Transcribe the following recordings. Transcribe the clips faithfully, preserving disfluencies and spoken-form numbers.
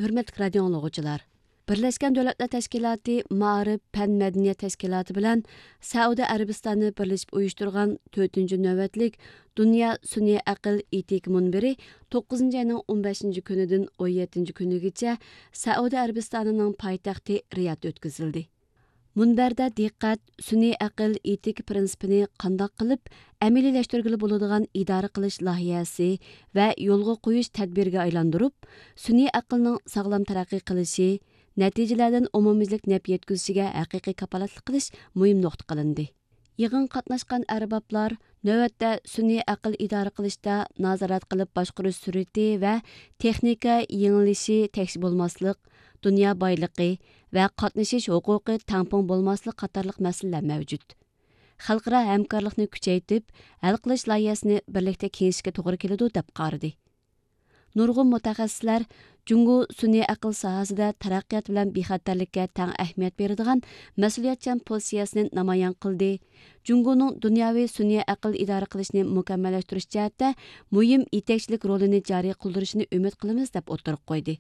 ھۆرمەتلىك رادىئو ئاڭلىغۇچىلار! بىرلەشكەن دۆلەتلەر تەشكىلاتى مائارىپ، پەن، مەدەنىيەت تەشكىلاتى بىلەن سەئۇدى ئەرەبىستانى بىرلىشىپ ئۇيۇشتۇرغان تۆتىنچى نۆۋەتلىك دۇنيا سۈنئىي ئەقىل ئېتىكا مۇنبىرى توققۇزىنچى ئاينىڭ ئون بەشىنچى كۈنىدىن ئون يەتتىنچى كۈنىگىچە سەئۇدى ئەرەبىستانىنىڭ پايتەختى رىيادتا ئۆتكۈزۈلدى. مۇنبەردە دىققەت سۈنئىي ئەقىل ئېتىكا پىرىنسىپىنى قانداق قىلىپ ئەمەلىيلەشتۈرگىلى بولىدىغان ئىدارە قىلىش لايىھەسى ۋە يولغا قويۇش تەدبىرىگە ئايلاندۇرۇپ، سۈنئىي ئەقىلنىڭ ساغلام تەرەققىي قىلىشى، نەتىجىلەردىن ئومۇميۈزلۈك نەپ يەتكۈزۈشىگە ھەقىقىي كاپالەتلىك قىلىش مۇھىم نۇقتا قىلىندى. يىغىنغا قاتناشقان ئەربابلار نۆۋەتتە سۈنئىي ئەقىل ئىدارە قىلىشتا نازارەت قىلىپ باشقۇرۇش سۈرئىتى ۋە تېخنىكا يېڭىلىشى تەكشى بولماسلىق، دۇنيا بايلىقى ۋە قاتنىشىش ھوقۇقى تەڭپۇڭ بولماسلىق قاتارلىق مەسىلىلەر مەۋجۇت. خەلقئارا ھەمكارلىقنى كۈچەيتىپ، ھەل قىلىش لايىھەسىنى بىرلىكتە كېڭىشىشكە توغرا كېلىدۇ، دەپ قارىدى. نۇرغۇن مۇتەخەسسىسلەر جۇڭگو سۈنئىي ئەقىل ساھەسىدە تەرەققىيات بىلەن بىخەتەرلىككە تەڭ ئەھمىيەت بېرىدىغان مەسئۇلىيەتچان پوزىتسىيەسىنى نامايان قىلدى. جۇڭگونىڭ دۇنياۋى سۈنئىي ئەقىل ئىدارە قىلىشنى مۇكەممەللەشتۈرۈش جەھەتتە مۇھىم يېتەكچىلىك رولىنى جارى قىلدۇرۇشىنى ئۈمىد قىلىمىز، دەپ ئوتتۇرىغا قويدى.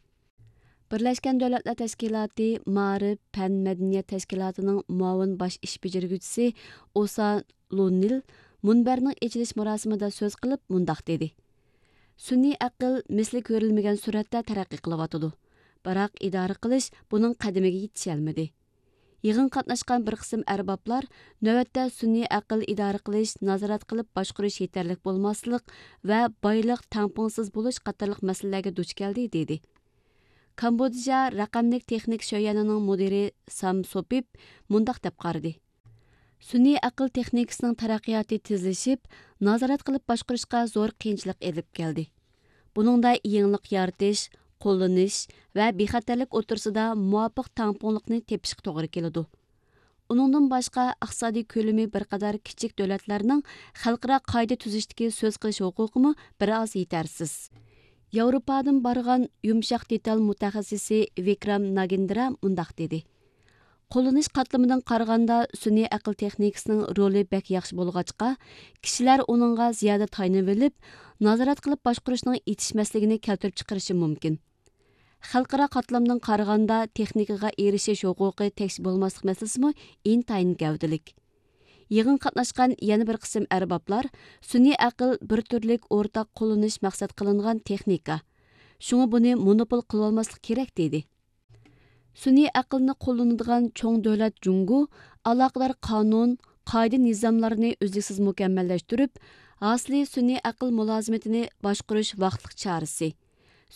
بىرلەشكەن دۆلەتلەر تەشكىلاتى مائارىپ، پەن، مەدەنىيەت تەشكىلاتىنىڭ مۇئاۋىن باش ئىش بېجىرگۈچىسى ئوسا لۇنىل مۇنبەرنىڭ ئېچىلىش مۇراسىمىدا سۆز قىلىپ مۇنداق دېدى: سۈنئىي ئەقىل مىسلى كۆرۈلمىگەن سۈرئەتتە تەرەققىي قىلىۋاتىدۇ، بىراق ئىدارە قىلىش بۇنىڭ قەدىمىگە يېتىشەلمىدى. يىغىنغا قاتناشقان بىر قىسىم ئەربابلار نۆۋەتتە سۈنئىي ئەقىل ئىدارە قىلىش، نازارەت قىلىپ باشقۇرۇش يېتەرلىك بولماسلىق ۋە بايلىق تەڭپۇڭسىز بولۇش قاتارلىق مەسىلىلەرگە دۇچ كەلدى، دېدى. كامبودژا رەقەملىك تېخنىكا شۆيەنىنىڭ مۇدىرى سام سوپىپ مۇنداق دەپ قارىدى: سۈنئىي ئەقىل تېخنىكىسىنىڭ تەرەققىياتى تېزلىشىپ، نازارەت قىلىپ باشقۇرۇشقا زور قىيىنچىلىق ئېلىپ كەلدى. بۇنىڭدا يېڭىلىق يارىتىش، قوللىنىش ۋە بىخەتەرلىك ئوتتۇرىسىدا مۇۋاپىق تەڭپۇڭلۇقنى تېپىشقا توغرا كېلىدۇ. ئۇنىڭدىن باشقا، ئىقتىسادىي كۆلىمى بىر قەدەر كىچىك دۆلەتلەرنىڭ خەلقئارا قائىدە تۈزۈشتىكى سۆز قىلىش ھوقۇقىمۇ بىر ئاز يېتەرسىز. ياۋروپادىن بارغان يۇمشاق دېتال مۇتەخەسسىسى ۋىكرام ناگىندرا مۇنداق دېدى: قوللىنىش قاتلىمىدىن قارىغاندا، سۈنئىي ئەقىل تېخنىكىسىنىڭ رولى بەك ياخشى بولغاچقا، كىشىلەر ئۇنىڭغا زىيادە تايىنىۋېلىپ، نازارەت قىلىپ باشقۇرۇشنىڭ يېتىشمەسلىكىنى كەلتۈرۈپ چىقىرىشى مۇمكىن. خەلقئارا قاتلامدىن قارىغاندا، تېخنىكىغا ئېرىشىش ھوقۇقى تەكشى بولماسلىق مەسىلىسىمۇ ئىنتايىن گەۋدىلىك. يىغىنغا قاتناشقان يەنە بىر قىسىم ئەربابلار سۈنئىي ئەقىل بىر تۈرلۈك ئورتاق قوللىنىش مەقسەت قىلىنغان تېخنىكا، شۇڭا بۇنى مونوپول قىلىۋالماسلىق كېرەك، دېدى. سۈنئىي ئەقىلنى قوللىنىدىغان چوڭ دۆلەت جۇڭگو ئالاقىدار قانۇن، قائىدە نىزاملارنى ئۈزلۈكسىز مۇكەممەللەشتۈرۈپ، ھاسىلى سۈنئىي ئەقىل مۇلازىمىتىنى باشقۇرۇش ۋاقىتلىق چارىسى،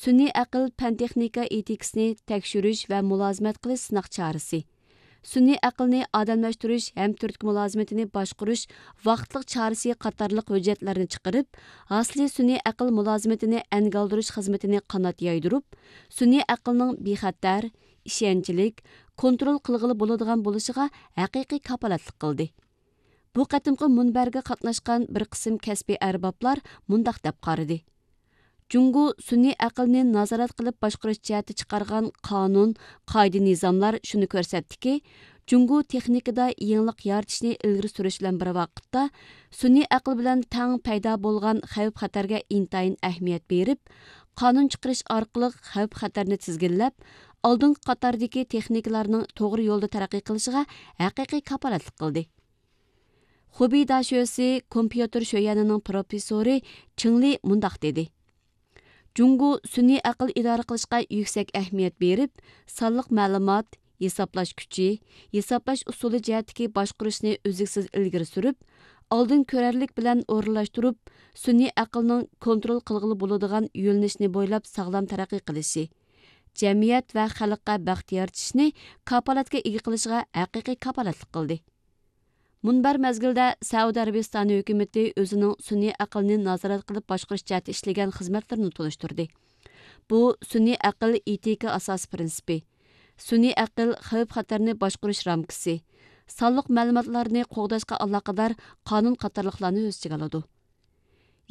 سۈنئىي ئەقىل پەن تېخنىكا ئېتىكىسىنى تەكشۈرۈش ۋە مۇلازىمەت قىلىش سىناق چارىسى، سۈنئىي ئەقىلنى ئادەملەشتۈرۈش ھەم تۈرتكە مۇلازىمىتىنى باشقۇرۇش ۋاقىتلىق چارىسى قاتارلىق ھۆججەتلەرنى چىقىرىپ، ھاسىلى سۈنئىي ئەقىل مۇلازىمىتىنى ئەنگە ئالدۇرۇش خىزمىتىنى قانات يايدۇرۇپ، سۈنئىي ئەقىلنىڭ بىخەتەر، ئىشەنچلىك، كونترول قىلغىلى بولىدىغان بولۇشىغا ھەقىقىي كاپالەتلىك قىلدى. بۇ قېتىمقى مۇنبەرگە قاتناشقان بىر قىسىم كەسپىي ئەربابلار مۇنداق دەپ قارىدى: جۇڭگو سۈنئىي ئەقىلنى نازارەت قىلىپ باشقۇرۇش جەھەتتە چىقارغان قانۇن، قائىدە نىزاملار شۇنى كۆرسەتتىكى، جۇڭگو تېخنىكىدا يېڭىلىق يارىتىشنى ئىلگىرى سۈرۈش بىلەن بىر ۋاقىتتا، سۈنئىي ئەقىل بىلەن تەڭ پەيدا بولغان خەۋپ خەتەرگە ئىنتايىن ئەھمىيەت بېرىپ، قانۇن چىقىرىش ئارقىلىق خەۋپ خەتەرنى تىزگىنلەپ، ئالدىنقى قاتاردىكى تېخنىكىلارنىڭ توغرا يولدا تەرەققىي قىلىشىغا ھەقىقىي كاپالەتلىك قىلدى. خۇبېي داشۆسى كومپيۇتېر شۆيەنىنىڭ پروفېسسورى چېڭ لى مۇنداق دېدى: جۇڭگو سۈنئىي ئەقىل ئىدارە قىلىشقا يۈكسەك ئەھمىيەت بېرىپ، سانلىق مەلۇمات، ھېسابلاش كۈچى، ھېسابلاش ئۇسۇلى جەھەتتىكى باشقۇرۇشنى ئۈزلۈكسىز ئىلگىرى سۈرۈپ، ئالدىن كۆرەرلىك بىلەن ئورۇنلاشتۇرۇپ، سۈنئىي ئەقىلنىڭ كونترول قىلغىلى بولىدىغان يۆنىلىشنى بويلاپ ساغلام تەرەققىي قىلىشى، جەمئىيەت ۋە خەلققە بەخت يارىتىشنى كاپالەتكە ئىگە قىلىشىغا ھەقىقىي كاپالەتلىك قىلدى. مۇنبەر مەزگىلدە سەئۇدى ئەرەبىستانى ھۆكۈمىتى ئۆزىنىڭ سۈنئىي ئەقىلنى نازارەت قىلىپ باشقۇرۇش جەھەتتە ئىشلىگەن خىزمەتلىرىنى تونۇشتۇردى. بۇ سۈنئىي ئەقىل ئېتىكا ئاساسىي پىرىنسىپى، سۈنئىي ئەقىل خەۋپ خەتەرنى باشقۇرۇش رامكىسى، سانلىق مەلۇماتلارنى قوغداشقا ئالاقىدار قانۇن قاتارلىقلارنى ئۆز ئىچىگە ئالىدۇ.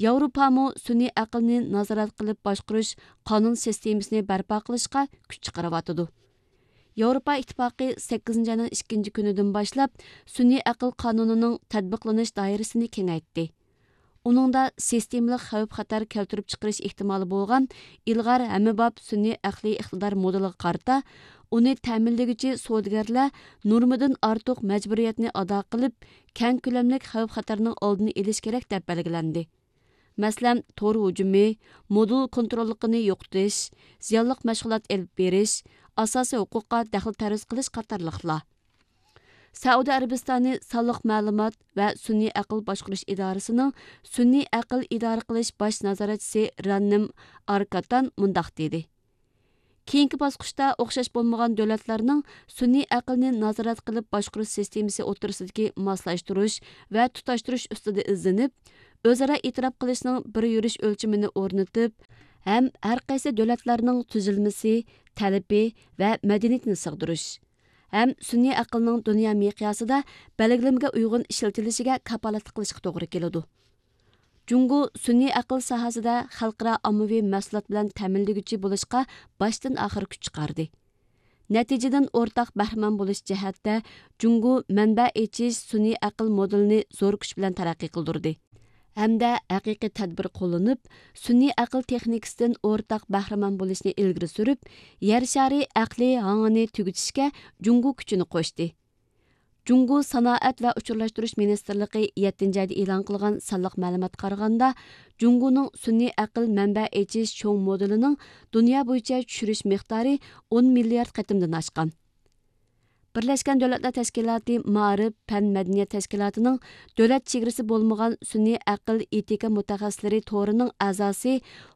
ياۋروپامۇ سۈنئىي ئەقىلنى نازارەت قىلىپ باشقۇرۇش قانۇن سىستېمىسىنى بەرپا قىلىشقا كۈچ چىقىرىۋاتىدۇ. ياۋروپا ئىتتىپاقى سەككىزىنچى ئاينىڭ ئىككىنچى كۈنىدىن باشلاپ سۈنئىي ئەقىل قانۇنىنىڭ تەتبىقلىنىش دائىرىسىنى كېڭەيتتى. ئۇنىڭدا سىستېمىلىق خەۋپ-خەتەر كەلتۈرۈپ چىقىرىش ئېھتىمالى بولغان ئىلغار ھەممىباب سۈنئىي ئەقلىي ئىقتىدار مودېلىغا قارىتا، ئۇنى تەمىنلىگۈچى سودىگەرلەر نورمىدىن ئارتۇق مەجبۇرىيەتنى ئادا قىلىپ، كەڭ كۆلەملىك خەۋپ-خەتەرنىڭ ئالدىنى ئېلىش كېرەك، دەپ بەلگىلەندى. مەسىلەن، تور ھۇجۇمى، مودېل كونتروللۇقىنى يوقىتىش، زىيانلىق مەشغۇلات ئېلىپ بېرىش، ئاساسىي ھوقۇققا دەخلى تەرۇز قىلىش قاتارلىقلار. سەئۇدى ئەرەبىستانى سانلىق مەلۇمات ۋە سۈنئىي ئەقىل باشقۇرۇش ئىدارىسىنىڭ سۈنئىي ئەقىل ئىدارە قىلىش باش نازارەتچىسى راننىم ئاركاتان مۇنداق دېدى: كېيىنكى باسقۇچتا ئوخشاش بولمىغان دۆلەتلەرنىڭ سۈنئىي ئەقىلنى نازارەت قىلىپ باشقۇرۇش سىستېمىسى ئوتتۇرىسىدىكى ماسلاشتۇرۇش ۋە تۇتاشتۇرۇش ئۈستىدە ئىزدىنىپ، ئۆزئارا ئېتىراپ قىلىشنىڭ بىر يۈرۈش ئۆلچىمىنى ئورنىتىپ، ھەم ھەر قايسى دۆلەتلەرنىڭ تۈزۈلمىسى، تەلىپى ۋە مەدەنىيىتىنى سىغدۇرۇش، ھەم سۈنئىي ئەقىلنىڭ دۇنيا مىقياسىدا بەلگىلىمىگە ئۇيغۇن ئىشلىتىلىشىگە كاپالەتلىك قىلىشقا توغرا كېلىدۇ. جۇڭگو سۈنئىي ئەقىل ساھەسىدە خەلقئارا ئاممىۋى مەھسۇلات بىلەن تەمىنلىگۈچى بولۇشقا باشتىن ئاخىر كۈچ چىقاردى. نەتىجىدىن ئورتاق بەھرىمەن بولۇش جەھەتتە جۇڭگو مەنبە ئېچىش سۈنئىي ئەقىل مودېلىنى زور كۈچ بىلەن تەرەققىي قىلدۇردى ھەمدە ھەقىقىي تەدبىر قوللىنىپ، سۈنئىي ئەقىل تېخنىكىسىدىن ئورتاق بەھرىمەن بولۇشنى ئىلگىرى سۈرۈپ، يەر شارى ئەقلىي ھاڭىنى تۈگىتىشكە جۇڭگو كۈچىنى قوشتى. جۇڭگو سانائەت ۋە ئۇچۇرلاشتۇرۇش مىنىستىرلىقى يەتتىنچى ئايدا ئېلان قىلغان سانلىق مەلۇماتقا قارىغاندا، جۇڭگونىڭ سۈنئىي ئەقىل مەنبە ئېچىش چوڭ مودېلىنىڭ دۇنيا بويىچە چۈشۈرۈش مىقدارى ئون مىليارد قېتىمدىن ئاشقان. بىرلەشكەن دۆلەتلەر تەشكىلاتى مائارىپ، پەن، مەدەنىيەت تەشكىلاتىنىڭ دۆلەت چېگرىسى بولمىغان سۈنئىي ئەقىل ئېتىكا مۇتەخەسسىسلىرى تورىنىڭ ئەزاسى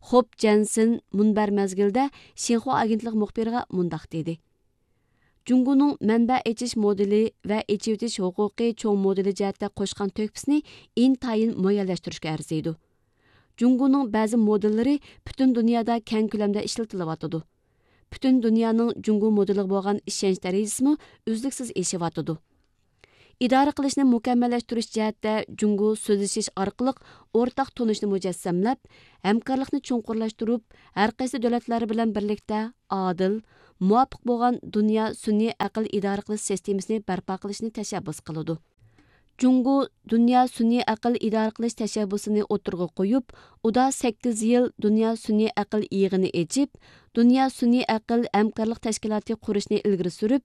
خوپ جەنسېن مۇنبەر مەزگىلىدە شىنخۇا ئاگېنتلىقى مۇخبىرىغا مۇنداق دېدى: جۇڭگونىڭ مەنبە ئېچىش مودېلى ۋە ئېچىۋېتىش ھوقۇقى چوڭ مودېلى جەھەتتە قوشقان تۆھپىسىنى ئىنتايىن مۇئەييەنلەشتۈرۈشكە ئەرزىيدۇ. جۇڭگونىڭ بەزى مودېللىرى پۈتۈن دۇنيادا كەڭ كۆلەمدە ئىشلىتىلىۋاتىدۇ. پۈتۈن دۇنيانىڭ جۇڭگو مودېلىغا بولغان ئىشەنچ دەرىجىسىمۇ ئۈزلۈكسىز ئېشىۋاتىدۇ. ئىدارە قىلىشنى مۇكەممەللەشتۈرۈش جەھەتتە جۇڭگو سۆزلىشىش ئارقىلىق ئورتاق تونۇشنى مۇجەسسەملەپ، ھەمكارلىقنى چوڭقۇرلاشتۇرۇپ، ھەر قايسى دۆلەتلەر بىلەن بىرلىكتە ئادىل، مۇۋاپىق بولغان دۇنيا سۈنئىي ئەقىل ئىدارە قىلىش سىستېمىسىنى بەرپا قىلىشنى تەشەببۇس قىلىدۇ. جۇڭگو دۇنيا سۈنئىي ئەقىل ئىدارە قىلىش تەشەببۇسىنى ئوتتۇرىغا قويۇپ، ئۇدا سەككىز يىل دۇنيا سۈنئىي ئەقىل يىغىنى ئېچىپ، دۇنيا سۈنئىي ئەقىل ھەمكارلىق تەشكىلاتى قۇرۇشنى ئىلگىرى سۈرۈپ،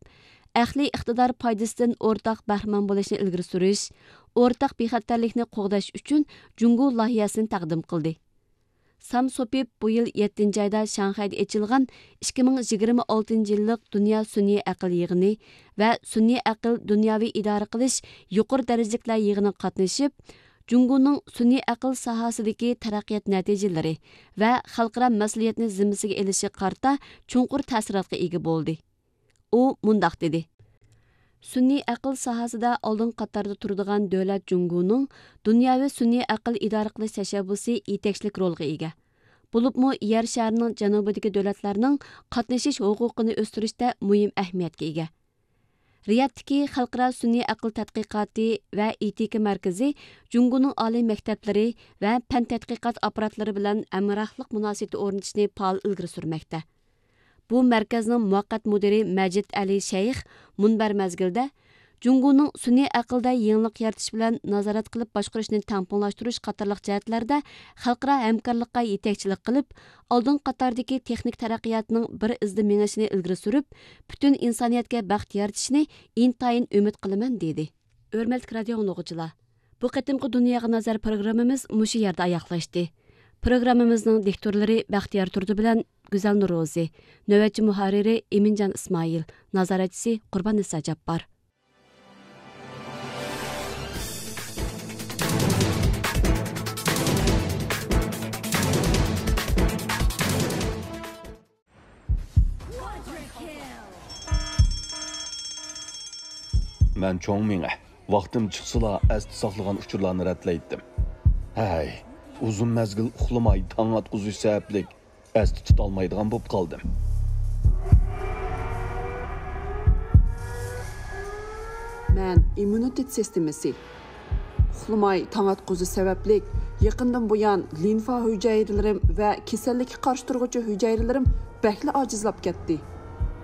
ئەقلىي ئىقتىدار پايدىسىدىن ئورتاق بەھرىمەن بولۇشنى ئىلگىرى سۈرۈش، ئورتاق بىخەتەرلىكنى قوغداش ئۈچۈن جۇڭگو لايىھەسىنى تەقدىم قىلدى. سام سوپىپ بۇ يىل يەتتىنچى ئايدا شاڭخەيدە ئېچىلغان ئىككى مىڭ يىگىرمە ئالتىنچى يىللىق دۇنيا سۈنئىي ئەقىل يىغىنى ۋە سۈنئىي ئەقىل دۇنياۋى ئىدارە قىلىش يۇقىرى دەرىجىلىكلەر يىغىنىغا قاتنىشىپ، جۇڭگونىڭ سۈنئىي ئەقىل ساھەسىدىكى تەرەققىيات نەتىجىلىرى ۋە خەلقئارا مەسئۇلىيەتنى زىممىسىگە ئېلىشىغا قارىتا چوڭقۇر تەسىراتقا ئىگە بولدى. ئۇ مۇنداق دېدى: سۈنئىي ئەقىل ساھەسىدە ئالدىنقى قاتاردا تۇرىدىغان دۆلەت جۇڭگونىڭ دۇنياۋى سۈنئىي ئەقىل ئىدارە قىلىش تەشەببۇسى يېتەكچىلىك رولغا ئىگە. بولۇپمۇ يەر شارىنىڭ جەنۇبىدىكى دۆلەتلەرنىڭ قاتنىشىش ھوقۇقىنى ئۆستۈرۈشتە مۇھىم ئەھمىيەتكە ئىگە. رىيادتىكى خەلقئارا سۈنئىي ئەقىل تەتقىقاتى ۋە ئېتىكا مەركىزى جۇڭگونىڭ ئالىي مەكتەپلىرى ۋە پەن تەتقىقات ئاپپاراتلىرى بىلەن ھەمراھلىق مۇناسىۋىتى ئورنىتىشنى پائال ئىلگىرى سۈرمەكتە. بۇ مەركەزنىڭ مۇۋەققەت مۇدىرى مەجىد ئەلى شەيخ مۇنبەر مەزگىلىدە، جۇڭگونىڭ سۈنئىي ئەقىلدە يېڭىلىق يارىتىش بىلەن نازارەت قىلىپ باشقۇرۇشنى تەڭپۇڭلاشتۇرۇش قاتارلىق جەھەتلەردە خەلقئارا ھەمكارلىققا يېتەكچىلىك قىلىپ، ئالدىنقى قاتاردىكى تېخنىك تەرەققىياتنىڭ بىر ئىزدا مېڭىشىنى ئىلگىرى سۈرۈپ، پۈتۈن ئىنسانىيەتكە بەخت يارىتىشىنى ئىنتايىن ئۈمىد قىلىمەن، دېدى. ھۆرمەتلىك رادىئو ئاڭلىغۇچىلار، بۇ قېتىمقى دۇنياغا نەزەر پروگراممىمىز مۇشۇ يەردە ئاياغلاشتى. پروگراممىمىزنىڭ دىكتورلىرى بەختىيار تۇردى بىلەن گۈزەل نۇرۇزى، نۆۋەتچى مۇھەررىرى ئىمىنجان ئىسمائىل، نازارەتچىسى قۇرباننىسا جاپپار. مەن چوڭ مېڭە. ۋاقتىم چىقسىلا ئەستە ساقلىغان ئۇچۇرلارنى رەتلەيتتىم. ھەي، ئۇزۇن مەزگىل ئۇخلىماي تاڭ ئاتقۇزۇش سەۋەبلىك ئەستە تۇتالمايدىغان بولۇپ قالدىم. مەن ئىممۇنىتېت سىستېمىسى. ئۇخلىماي تاڭ ئاتقۇزۇش سەۋەبلىك يېقىندىن بۇيان لىمفا ھۈجەيرىلىرىم ۋە كېسەللىككە قارشى تۇرغۇچى ھۈجەيرىلىرىم بەكلا ئاجىزلاپ كەتتى.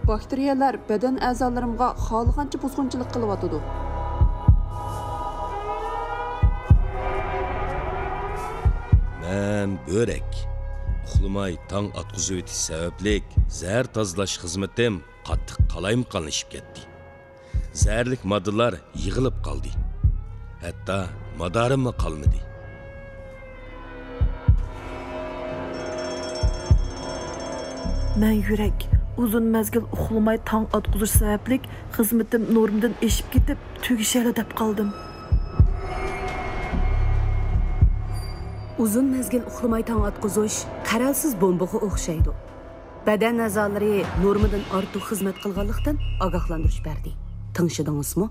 باكتېرىيەلەر بەدەن ئەزالىرىمغا خالىغانچە بۇزغۇنچىلىق قىلىۋاتىدۇ. ھەم بۆرەك. ئۇخلىماي تاڭ ئاتقۇزۇۋېتىش سەۋەبلىك زەھەر تازىلاش خىزمىتىم قاتتىق قالايمىقانلىشىپ كەتتى. زەھەرلىك ماددىلار يىغىلىپ قالدى. ھەتتا مادارىممۇ قالمىدى. مەن يۈرەك، ئۇزۇن مەزگىل ئۇخلىماي تاڭ ئاتقۇزۇش سەۋەبلىك خىزمىتىم نورمىدىن ئېشىپ كېتىپ، تۈگىشەرلا دەپ قالدىم. ئۇزۇن مەزگىل ئۇخلىماي تاڭ ئاتقۇزۇش قەرەلسىز بومبىغا ئوخشايدۇ. بەدەن ئەزالىرى نورمىدىن ئارتۇق خىزمەت قىلغانلىقتىن ئاگاھلاندۇرۇش بەردى. تىڭشىدىڭىزمۇ؟